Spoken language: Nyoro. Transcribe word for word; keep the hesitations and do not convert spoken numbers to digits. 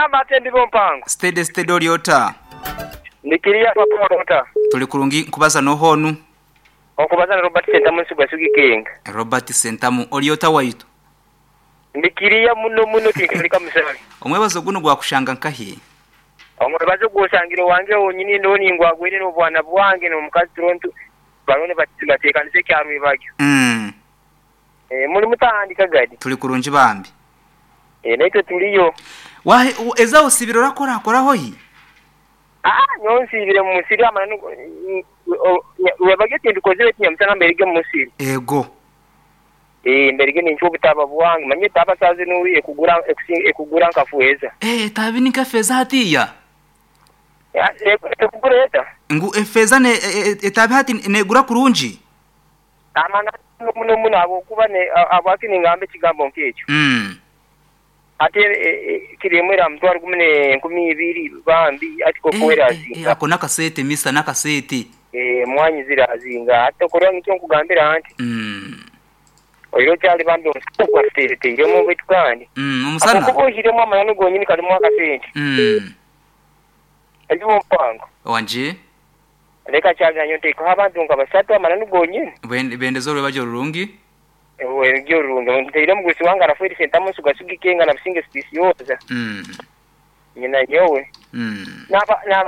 Gamba ate ndibo mpango. Steady steady oliota. Nikiria papa rota. Tuli kurungi nkubaza nohonu. Okubaza na Robert Sentamu Nsuga King. Robert Sentamu oliota waitu. Nikiria muno muno tinkalika musali. Omwebazo guno gwakushanga nkahi. Omwebazo gwosangire wange wonyini ndoni ngwagwire n'obwana bwange n'omukazi Toronto barone bateekanise kyarwebagyo. Mm. Eh, muri mutandika gadi. Tuli kurungi bambi. Eh, naitwe tuliyo. Wahe eza osibiro rakora koraho hi? Ah, nyonsibire mu musiri amana webagyo tindukozire tinyamusana mberige mu musiri. Ego. Eh, mberige nincho obutaba bwange manye taba sazi nuri ekugura ekugura nkafueza. Eh, tabi nikafeza hatiya. Ya, ekugura eta. Ngu efeza ne etabi hati negura kurungi. Amana muno muno abo kuba ne abaki ningambe kigambo nkekyo. Mm. Ate kiremera mutwaro gumne nkumi ibiri bambi ati kokwera azinga. Ako nakasete misa nakasete. Eh, mwanyi zira azinga ate korwa ngicyo nkugambira anti. Mm. Oyo cyali bambi omusana kwafete mu bitu kandi. Mm, omusana. Kuko ohiremo amayano gonyini kalimo akasente. Mm. Ali mpango. Wanje. Leka cyali nanyo nteko abantu nga basatu amananu gonyini. Bende bendezo lwebajo rurungi. Ewe ryo rurungi nteire mugusi wanga raferi sentamu sugasugi kenga na businge spisi yoza. Mm. Nyina nyowe. Mm. Naba